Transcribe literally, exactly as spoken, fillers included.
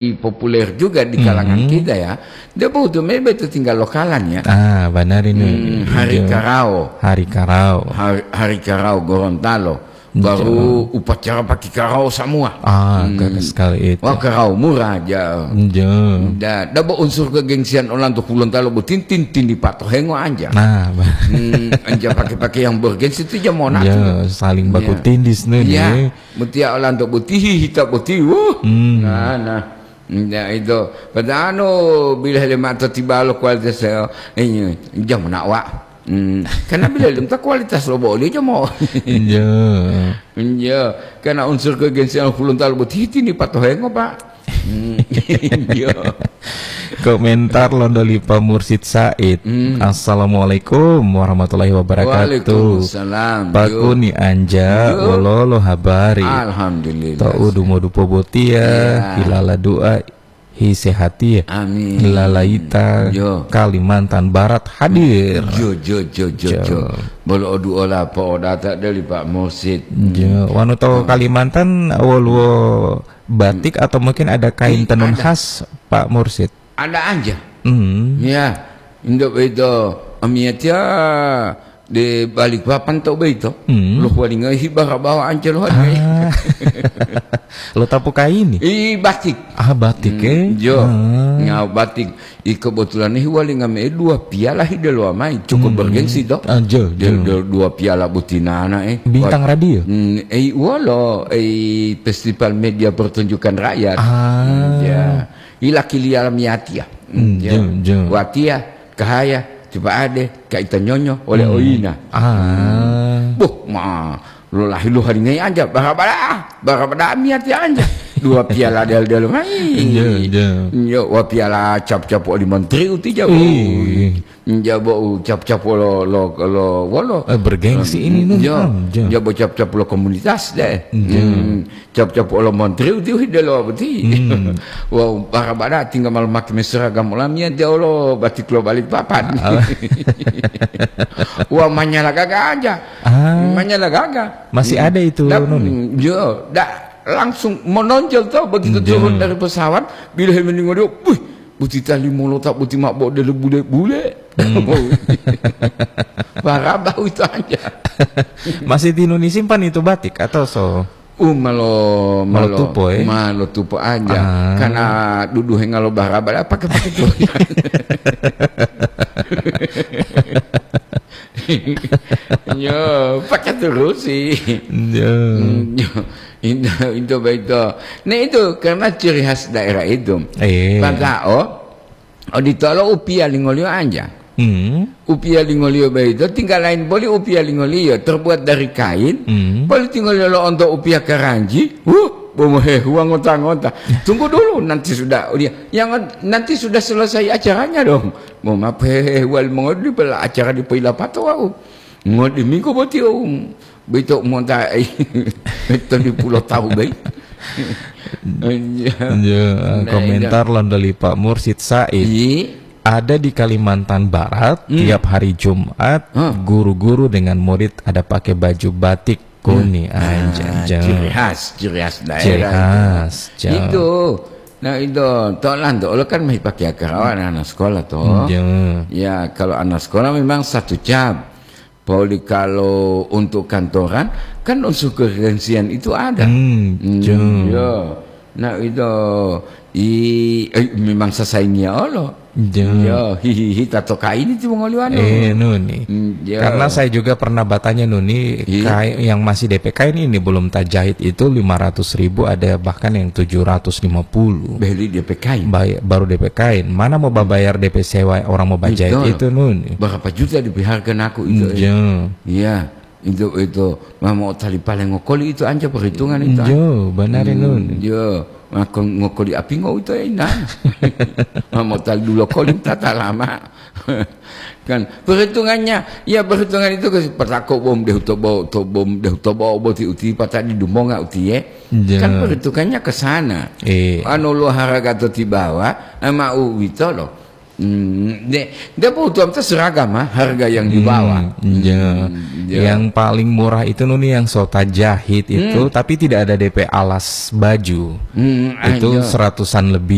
populer juga di kalangan kita ya. Dia bohutu mebe itu tinggal lokalan ya. Ah, banari nu. Hmm, hari Karao. Hari Karao. Hari, hari Karao Gorontalo. Baru upacara pakai karao semua. Ah, keren sekali itu. Wah, karao murah aja. Nda, dabo unsur kegengsian olanto Hulontalo botintin tindi patohengo anja. Nah, hmm, anja pakai-pakai yang bergensi itu aja mau natu. Ya, saling baku tindis nih. Ya, mutia olanto botihi hita boti. Wuh. Hmm. Nah, nah. Ya, itu. Padahal anu, bila hele mata tiba lo kualitas saya, ini, jam nak, Wak. Hmm, karena bila lim ta kualitas lo boli aja mau. Iya. Iya, karena unsur kegensian Hulontalo boti tini patohengo, Pak. Hmm, iya. Komentar lonto li Pak Mursid Said. Hmm. Assalamualaikum warahmatullahi wabarakatuh. Waalaikumsalam. Pak Kuni anja, wololo habari? Alhamdulillah. To'u dumodupo botia, hilala doa, hi sehati. Amin. Lalaita, Kalimantan Barat hadir. Jo, jo, jo, jo, jo. Bolo oduola po'odata deli Pak Mursid. Jo, wanu to Kalimantan woluwo batik atau mungkin ada kain tenun khas, Pak Mursid? Ada aja. Hmm. Ya, indo beito, amiatia de Balikpapan to beito. Hmm. Lo huwalinga hibara bawa ance lo hadiya. Ah. Lo tapu kaini? I batik. Ah, batik, eh? Jo. Ah. Nga batik. I kebetulan ini huwalinga me dua piala hidelo amai. Cukup bergengsi to. Ah, jo, jo. Dua piala butinana, eh. Bintang radio? Hmm, eh, wolo, eh, Festival Media Pertunjukan Rakyat. Ah. Hmm, ya. Ila kiliala miatia. Hmm, jo, jo. Watia, kahaya, tipa ade, kaita nyonyo, oleh oina. Ah. Boh, ma, lo lahi lo haringai anja, barabada, barabada miatia anja. Dua piala del-del mai. Jo, jo. Yo, wa piala cap-cap oli menteri uti jabo. Ih. Jabo cap-cap lo, lo, lo, wolo. Eh, bergengsi ini, nun. Jo, jabo cap-cap lo komunitas deh. Jo. Hmm. Cap-cap olo montri uti uhi delo boti. Hmm. Wau, barabada tinggal malu make seragam olamia dia olo batik lo Balikpapan. Ah. Wah, manyala gaga aja. Ah. Manyala gaga. Masih ada itu, Nun? Jo, da, langsung menonjol tuh begitu turun dari pesawat, bila he meninggal dia, wih, buti tali molota, buti mak bo dele bule-bule. Hmm. Barabau itu aja. Masih di Indonesia simpan itu batik atau so? Uh, malo, malo, malo tupo, eh? Malo tupo aja. Ah. Karena duduhe ngalo barabara, pakai-pakai tuh. Yo, pakai terus sih. Yo. Hmm, yo. Itu, itu baik tuh. Nah, itu karena ciri khas daerah itu. Eh. Padahal, oh, Oditolo upiya lingoliyo anja. Hmm. Upiya lingoliyo boyito tinggal lain boli upiya lingoliyo terbuat dari kain, hmm, boli tingoliyo lo'onto upiya karanji, huh, bo mohehuwa ngota-ngota. Tunggu dulu, nanti sudah, oh, dia, yang nanti sudah selesai acaranya dong. Bo mapehehuwa limongoli pela acara dipoyilapato wau. Ngodiminggu boti, oh, boyito monta, to dipulo tawu, bai. Iya. Iya, nah, komentar iya. Lonto li Pak Mursid Said. Iya. Ada di Kalimantan Barat, hmm, tiap hari Jumat, hmm, guru-guru dengan murid ada pakai baju batik kuni. Nah, anjay, ciri khas, ciri khas daerah. Ciri khas, itu. Nah, itu, tolan to, olo kan masih pakai akarawa anak-anak sekolah, toh. Iya. Ya, kalau anak sekolah memang satu jam. Pauli kalau untuk kantoran, kan unsur kegengsian itu ada. Hmm, hmm, jo. Yo. Nah, itu, i, eh, memang sasaingia olo. Jo. Yo, hihihi, tato kaini ti mongoliwano. Eh, nuni. Hmm, yo. Karena saya juga pernah bertanya nuni, iya, kai-, yang masih D P kain ini belum tajahit itu lima ratus ribu, ada bahkan yang tujuh ratus lima puluh. Beli D P kain. Bay-, baru D P kain. Mana mau babayar D P sewa orang mau bajahit itu, nuni? Berapa juta dipiharkan aku itu, eh? Iya. Iya, itu, itu. Mamo tali paling ngokoli itu anja perhitungan itu, ah. Iya, benar, hmm, nuni. Iya, ngoko-, ngokoli api ngo itu, eh, nah. Mamo tali dulu koli tata lama. Kan perhitungannya, ya perhitungan itu ke petako bom deh tobo, to bom deh tobo boti uti patadi dumonga uti, ya. Iya. Kan perhitungannya ke sana. Iya. Anu lo harga to tibawa, ama uwito lo. Hmm, de, de butuh apa seragam, ha? Harga yang dibawa. Hmm, iya. Hmm, iya. Yang paling murah itu, Nuni, yang sota jahit itu, Hmm. tapi tidak ada D P alas baju. Hmm, ah, Itu iya. seratusan lebih.